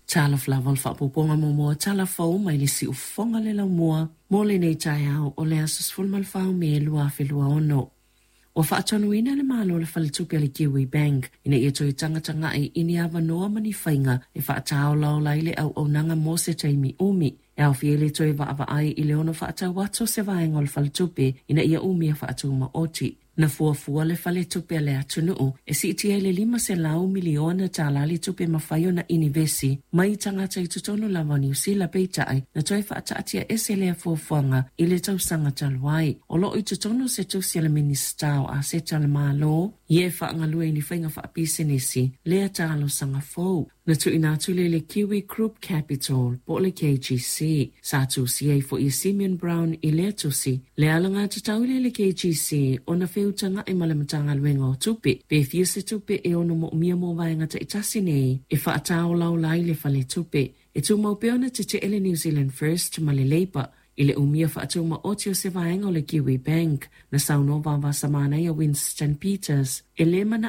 Talofa lava o le faaopoopoga muamua o tala fou mai le siufofoga o le laumua mo lenei taeao o le aso 14 o Me 2026. Ua faatonuina le Malo e le Faletupe a le Kiwi Bank ina ia toe tagatagai i ni avanoa ma ni faiga e faataolaola ai le auaunaga mo se taimi umi, e aofia ai le toe vaavaai i le ono faatau atu o se vaega o le faletupe ina ia umia faatumaoti. Na fuafua le Faletupe a le Atunuu e siitia i le $500 miliona tala le tupe e mafai ona inivesi mai tagata i totonu lava o Niu Sila, peitai na toe faataatiaese lea fuafuaga i le tausaga talu ai. O lo o i totonu o se tusi a le Minisita o Aseta a le Malo ia e faagalue i ni faiga faapisinisi lea talosaga fou. Na tuuina atu lea i le Kiwi Group Capital po o le KGC. Sa tusia ai foi e Simeon Brown i lea tusi le alagatatau lea i le KGC ona feutaga'i ma le Matagaluega o Tupe pe fia se tupe e ono moomia mo vaega taitasi nei e faataolaola ai le faletupe. E tumau pea ona tetee le New Zealand First ma le Labour i le umia faatumaoti o se vaega o le Kiwi Bank. Na saunoa vavasamanaia Winston Peters e le mana.